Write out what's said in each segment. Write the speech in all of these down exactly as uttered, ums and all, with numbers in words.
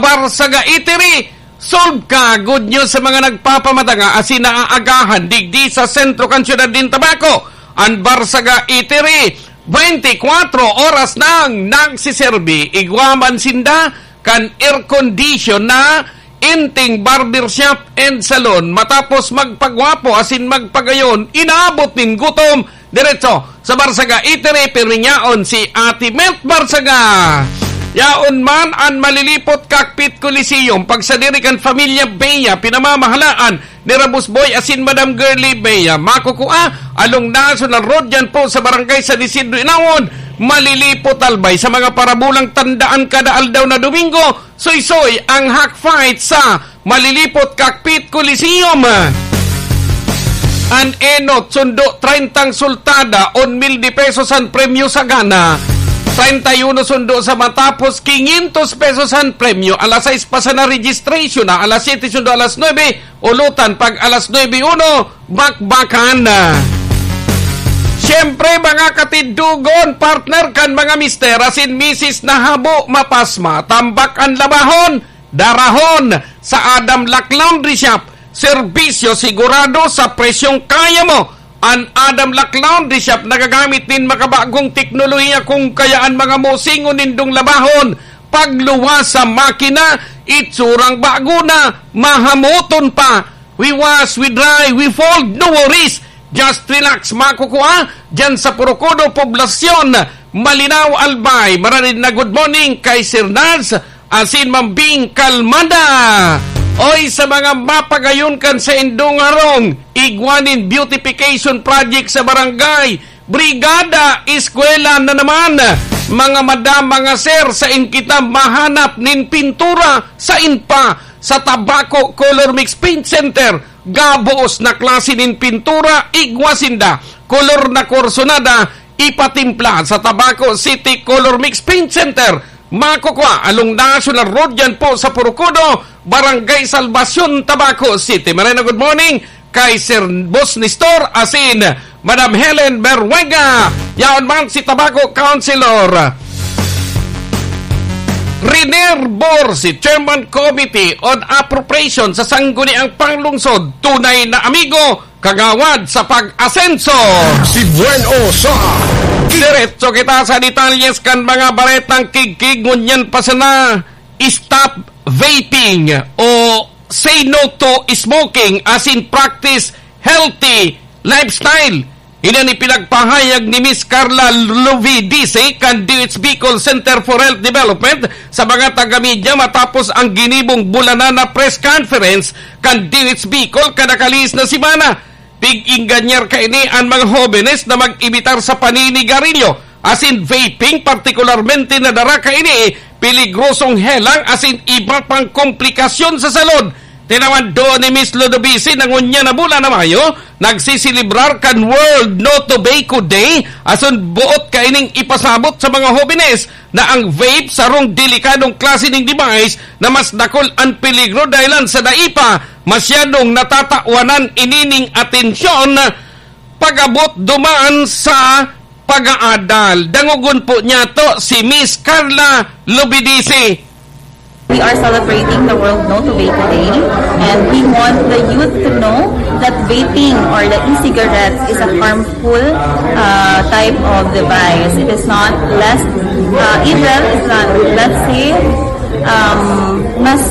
Barsaga Eatery, solve ka! Good news sa mga nagpapamatanga asin naaagahan digdi sa sentro kan syudad nin Tabaco. An Barsaga Eatery, twenty-four oras nang nagsiserbi. Igwa man sinda kan air condition na Inting Barbershop and Salon. Matapos magpagwapo asin magpagayon, inaabot nin gutom. Diretso sa Barsaga Eatery, pirmi yaon si Ate Met Barsaga. Yaon man an Malilipot Cockpit Coliseum, pagsadiri kan Familia Bea, pinamamahalaan ni Rabus Boy asin Madam Girlie Bea. Makukua, along National Road, yan po sa Barangay San Isidro, Inaon, Malilipot, Albay. Sa mga parabulang tandaan, kada aldaw na Domingo, suysoy ang Hack Fight sa Malilipot Cockpit Coliseum. An enot, sundo treinta ang sultada, un mil de pesos an premyo sa gana. Treinta y uno sundo sa matapos, quinientos pesos an premyo. Alas sais pa sana registration na, alas siyete sundo alas nuebe, ulutan pag alas nuebe uno, bakbakan. Siyempre, mga katindogon, partner kan mga mister asin misis na habo mapasma, tambak an labahon, darahon sa Adam Lac Laundry Shop. Serbisyo sigurado sa presyong kaya mo. An Adam Lac Laundry Shop nagagamit nin makabagong teknolohiya, kung kaya an mga musingon nindong labahon, pagluwas sa makina, itsurang bago na, mahamoton pa. We wash, we dry, we fold, no worries. Just relax, makukua dyan sa Purukudo, Poblacion, Malinao, Albay. Maranid na good morning kay Sir Naz asin Ma'am Bing Kalmada. Oy, sa mga mapagayon kan saindong harong, igwa nin beautification project sa barangay, brigada, eskwela na naman. Mga madam, mga sir, sain kita mahanap nin pintura? Sain pa? Sa Tabaco Color Mix Paint Center. Gabos na klase nin pintura, igwa sinda. Kolor na kursonada, ipatimpla sa Tabaco City Color Mix Paint Center. Makukua along National Road, yan po sa Purukudo, Barangay Salvacion, Tabaco City. Maray na good morning kay Sir Boss Nestor asin Madam Helen Berwega. Yaon man si Tabaco Councilor Riner Bor, si Chairman Committee on Appropriation sa Sangguniang Panglungsod. Tunay na amigo, kagawad sa pag-asenso. Si Buen O sa Diretso kita sa detalyes kan mga baretang kigkig. Ngunyan pa sana, stop vaping o say no to smoking asin practice healthy lifestyle. Ini an ipinagpahayag ni Miss Carla Lovidice kan D O H Bicol Center for Health Development sa mga taga-media matapos ang ginibong bulanan na press conference kan D O H Bicol kada kalihis na semana. Pig-engañar kaini an mga hobenes na mag-imitar sa paninigarilyo asin vaping, partikularmente na dara kaini peligrosong helang asin iba pang komplikasyon sa salud. Tinawan duon ni Miss Lodovici na ngunyan na bulan na Mayo, nagsiselebrar kan World No Tobacco Day, asin boot kaining ipasabot sa mga hobenes na ang vape sarong delikadong klase ning device na mas dakul an peligro dahilan sa dai pa masyadong natatawanan inining atensyon pag-abot duman sa pag-aadal. Dangogon po niyato si Miss Carla Lobidici. We are celebrating the World No Tobacco Day, and we want the youth to know that vaping or the e-cigarettes is a harmful, uh, type of device. It is not less, uh, evil, it's not, let's say, um, mas,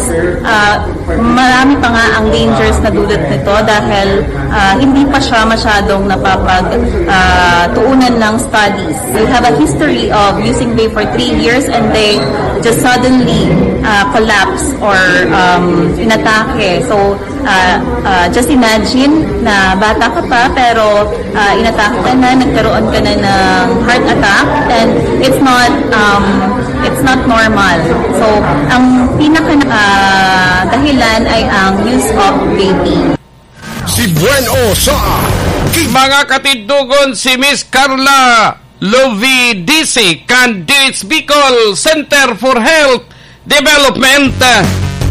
uh, marami pa nga ang dangers na dulot nito dahil, ah, hindi pa siya masyadong napapag, ah, tuunan ng studies. We have a history of using vape for three years and they just suddenly, ah, collapse or, um, inatake. So, ah, ah, just imagine na bata ka pa pero, ah, inatake ka na, nagkaroon ka na ng heart attack, and it's not, um, it's not normal. So, ang pinaka, ah, dahilan ay ang use of vaping. Si Buen O sa Mga katindogon, si Miss Carla Lovidici kan D O H Bicol Center for Health Development.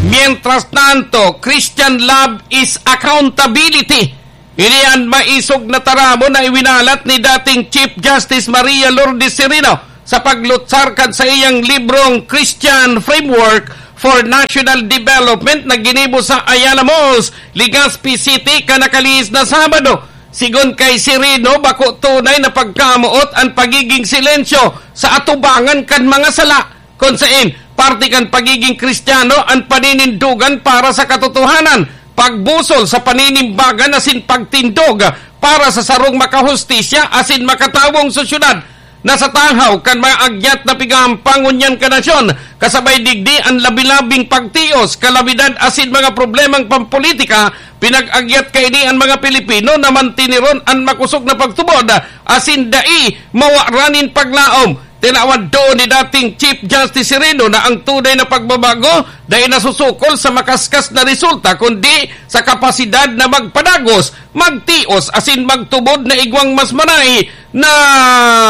Mientras tanto, Christian love is accountability. Ini an maisog na taramon na iwinalat ni dating Chief Justice Maria Lourdes Sereno sa paglutsar kan saiyang librong Christian Framework for National Development na ginibo sa Ayala Malls, Legazpi City, kan nakalihis na Sabado. Sigon kay Sereno, bako tunay na pagkamoot an pagiging silensyo sa atubangan kan mga sala, kun saen parte kan pagiging Kristiyano an paninindogan para sa katotohanan, pagbusol sa paninimbagan asin pagtindog para sa sarong makahustisya asin makatawong sosyedad na sa tahaw kan mga agyat na pigahampang ngunyan kan nasyon, kasabay digdi an labi-labing pagtios, kalamidad asin mga problemang pampolitika. Pinag-agyat kaini an mga Pilipino na mantiniron an makosog na pagtubod asin dai mawaran nin paglaom. Tinawan doon ni dating Chief Justice Sereno na ang tunay na pagbabago dai nasusukol sa makaskas na resulta, kundi sa kapasidad na magpadagos, magtios, asin magtubod na igwang mas marahay na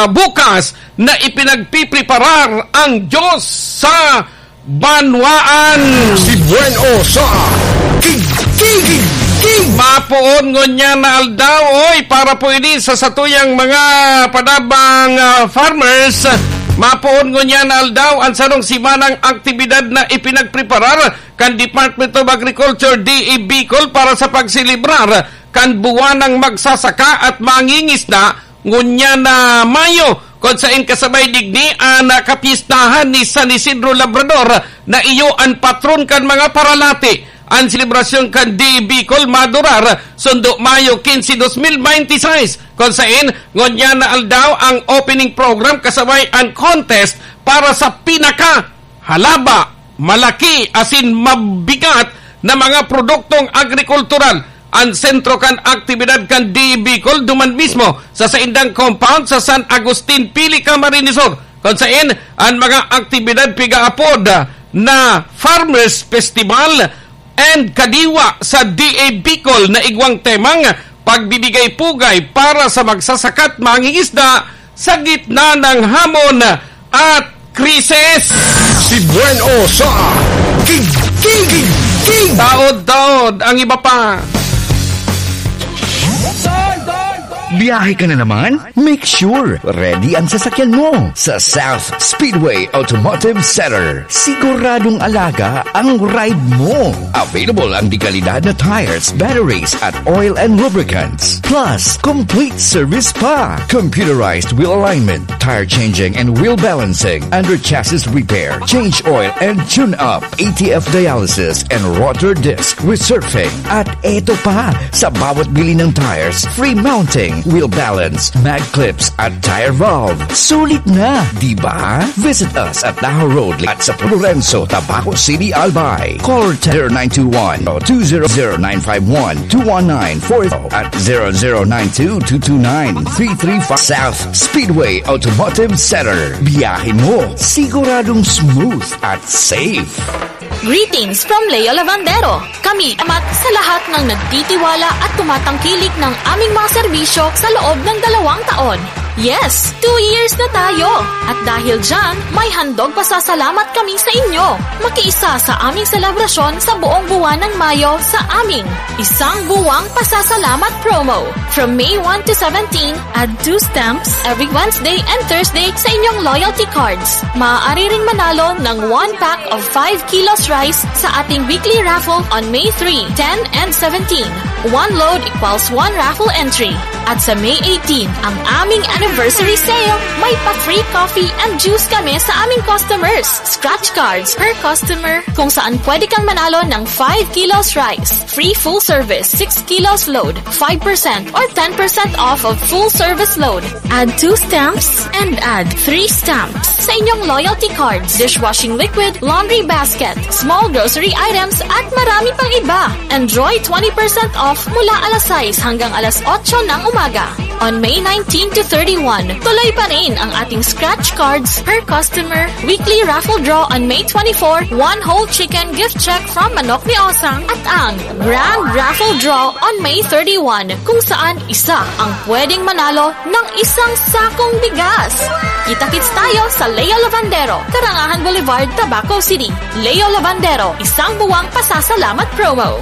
bukas na ipinagpipreparar ang Diyos sa banwaan. Si Buen O sa Tig-, Tig-, Tig-, Tig-. Mapoon ngunyan na aldaw, oy, para po ini sa satuyang mga padabang, ah, farmers. Mapoon ngunyan na aldaw ang sarong simanang aktibidad na ipinagpreparar kan Department of Agriculture, D A Bicol, para sa pagselebrar kan buwan ng magsasaka at mangingisda ngunyan na Mayo, kun saen kasabay digdi an, ah, kapistahan ni San Isidro Labrador na iyo an patron kan mga paralati. An selebrasyon kan D A Bicol madurar sundo Mayo quince, dos mil bente y seis, kun saen ngunyan na aldaw ang opening program kasabay an contest para sa pinaka halaba, malaki asin mabigat na mga produktong agrikultural. An sentro kan aktibidad kan D A Bicol duman mismo sa saindang compound sa San Agustin, Pili, Camarines Sur, kun saen an mga aktibidad pigaapod na Farmers Festival and Kadiwa sa D A Bicol na igwang temang pagbibigay pugay para sa magsasaka at mangingisda sa gitna ng hamon at krisis. Si Buen O sa Tig-, Tig-, Tig-, Tig-. Taod-taod ang iba pa. Biyahe ka na naman? Make sure ready ang sasakyan mo sa South Speedway Automotive Center. Siguradong alaga ang ride mo. Available ang dekalidad na tires, batteries, at oil and lubricants. Plus, complete service pa. Computerized wheel alignment, tire changing and wheel balancing, under chassis repair, change oil and tune up, A T F dialysis and rotor disc resurfacing. At eto pa, sa bawat bili ng tires, free mounting, wheel balance, mag clips at tire valve. Sulit na, di ba? Visit us at Tahaw Road at sa Lorenzo, Tabaco City, Albay. Call zero nine two one, two zero zero nine five one, two one nine four at zero zero nine two, two two nine, three three five. South Speedway Automotive Center. Biyahe mo, siguradong smooth at safe. Greetings from Leo Lavandero. Kami amat sa lahat ng nagtitiwala at tumatangkilik ng aming mga serbisyo sa loob ng dalawang taon. Yes, two years na tayo! At dahil dyan, may handog pasasalamat kami sa inyo. Makiisa sa aming selebrasyon sa buong buwan ng Mayo sa aming Isang Buwang Pasasalamat Promo. From May one to seventeen, add two stamps every Wednesday and Thursday sa inyong loyalty cards. Maaari ring manalo ng one pack of five kilos rice sa ating weekly raffle on May three, ten, and seventeen. One load equals one raffle entry. At sa May eighteen, ang aming anniversary sale. May pa-free coffee and juice kami sa aming customers. Scratch cards per customer, kung saan pwede kang manalo ng five kilos rice, free full service, six kilos load, five percent or ten percent off of full service load. Add two stamps and add three stamps sa inyong loyalty cards, dishwashing liquid, laundry basket, small grocery items, at marami pang iba. Enjoy twenty percent off mula alas sais hanggang alas otso ng umaga. On May nineteen to thirty-one, tuloy pa rin ang ating scratch cards per customer, weekly raffle draw on May twenty-four, one whole chicken gift check from Manok ni Osang, at ang Grand Raffle Draw on May thirty-one, kung saan isa ang pwedeng manalo ng isang sakong bigas. Kita-kits tayo sa Leo Lavandero, Karangahan Boulevard, Tabaco City. Leo Lavandero, Isang Buwang Pasasalamat Promo.